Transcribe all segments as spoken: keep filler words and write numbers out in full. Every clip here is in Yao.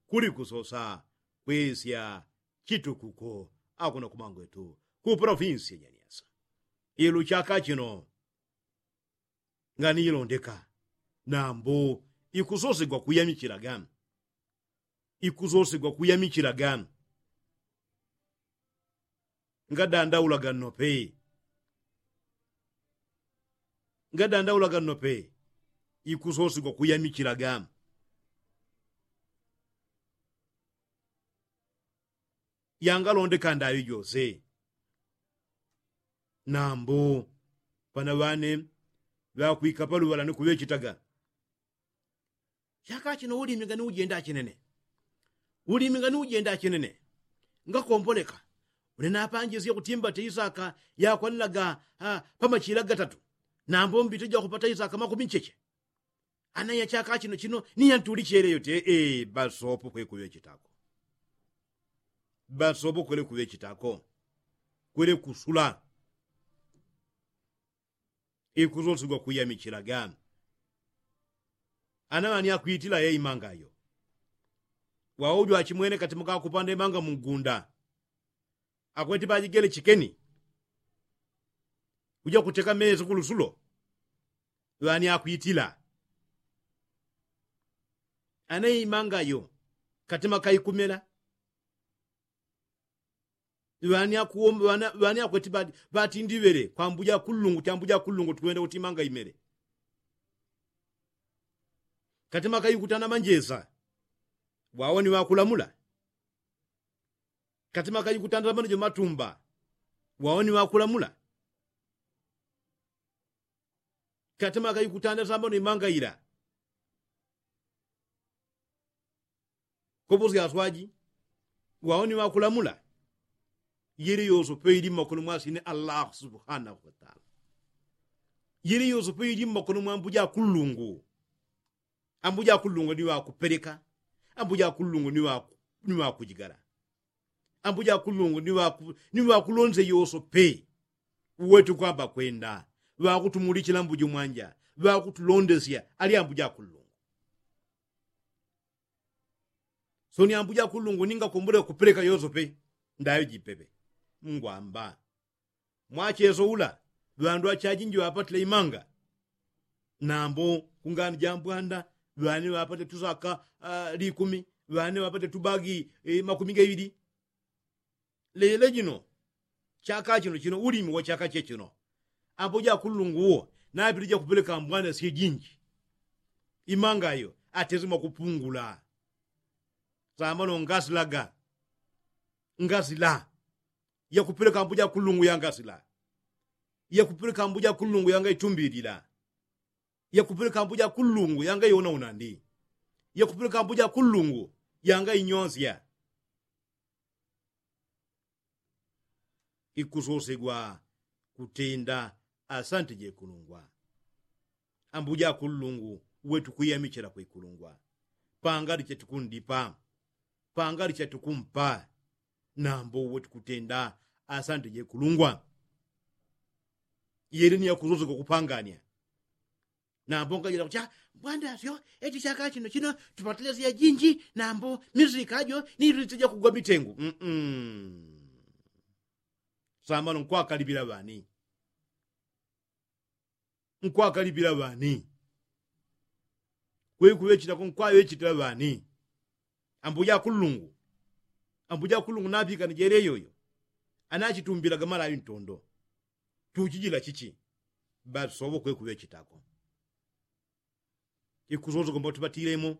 Kuli kusosa kwesya chitukuko akuno kumangwetu ku provinsi ya nyanyasa. Ilu chaka chino nganilondeka nambu ikusosegwa kuyamichilaga. Ikusosegwa kuyamichilaga. Ngadandaulaga nnope. Ngadandaulaga nnope. Ikusosegwa kuyamichilaga. Yangalondeka ndaŵi jose. Nambu pana ŵane ŵakwika paluŵala ni kuŵechitaga. Chaka chino ulimi ngani ujenda chinene. Ulimi ngani ujenda chinene. Ngakomboleka. Une napanjisye kuti mbate isaka yakwanilaga pamachila gatatu. Nambu mbite jakupata isaka makumi ncheche. Ana ya chaka chino chino ni yantulichele yote. Basopo kwekuŵechitako. Basopo kwele kuŵechitako. Kwele kusula. Ikusosigwa kuyamichilaga. Ana ŵani akwitila ye imanga yo. Waujo achimwene katima kakupanda imanga mungunda. Akweti pajigele chikeni. Uja kuteka mezi kulusulo. Ŵani akwitila. Ana imanga yo katima kaikumela. Ŵani akuwomba ŵani akweti ŵati ndiŵele kwambuja kulungu chambuja kulungu tukwenda kuti imanga imele. Katima kaikutana manjesa. Ŵawo ni ŵakulamula. Katima kaikutana tamano jo matumba. Ŵawo ni ŵakulamula. Katima kaikutana tamano imanga ila. Kopo syaswaji. Ŵawo ni ŵakulamula. Yili yosope ili mmakono mwa sine allahu subhanahu wataala. Yili yosope ili mmakono mwa ambuja kulungu. Ambuja kulungu ni ŵakupeleka. Ambuja kulungu ni ŵakujigala. Ambuja kulungu ni ŵakulonze yosope. Uwetu kwamba kwenda ŵakutumulichila mbuji mwanja. Ŵakutulondesya ali ambuja kulungu. Soni ambuja kulungu ninga kumbule kupeleka yosope. Ndayo jipepe. Ngwamba mwacheso ula ŵandu achajinji ŵapatile imanga. Nambo kungani jambwanda ŵani ŵapatile tusaka likumi. Ŵani ŵapatile tubagi makumi gaŵili. Lele jino chaka chino chino ulimi wa chaka chechino. Ambo jakulungu uwo napili jakupeleka mbwana syejinji. Imanga yo atezi mwakupungula. Samano ngasilaga. Ngasila. Yakupeleka ambuja kulungu yangasila. Yakupeleka ambuja kulungu yanga itumbilila. Yakupeleka ambuja kulungu yanga iona unandi. Yakupeleka ambuja kulungu yanga inyonsya. Ikusosegwa kutenda asante jekulungwa. Ambuja kulungu wetu kwiyamichela kwekulungwa. Pangali chetukundipa. Pangali chetukumpa. Nambo uwe tukutenda asante jekulungwa. Yele ni yakusosoka kupangania. Nambo ngajela kucha mbwanda syo eti chaka chino chino tupatile sya jinji nambo mizika jo ni rite jakugwa mitengu. Samano nkwakalipila ŵani? Nkwakalipila ŵani? Kwekuŵechitako nkwaŵechitila ŵani? Ambuja kulungu. Ambuja kulungu napikana jele yoyo. Anachitumbilaga malaŵi ntondo. Tuchijila chichi? Basowo kwekuŵechitako. Ikusosoka mwatupatilemo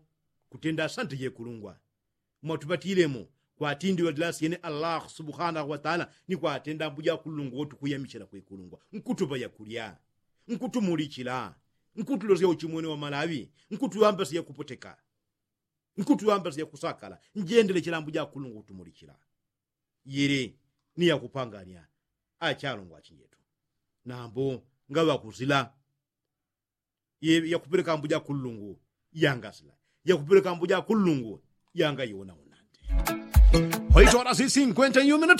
kutenda asante jekulungwa. Mwatupatilemo kwatindiŵalila syene allahu subhanahu wataala ni kwatenda ambuja kulungu wotukwiyamichela kwekulungwa nkutupa yakulya. Nkutumulichila. Nkutulosya uchimwene wa malaŵi. Nkutuŵambasya yakupoteka. Nkutuŵambasya yakusakala. Njendelechela ambuja kulungu kutumulichila. Yili ni yakupangania. Achalungwa achinjetu. Nambo ngaŵakusila. Yakupeleka ambuja kulungu yangasila. Yakupeleka ambuja kulungu yangaiwona unandi. Hoito horas y cincuenta y un minutos.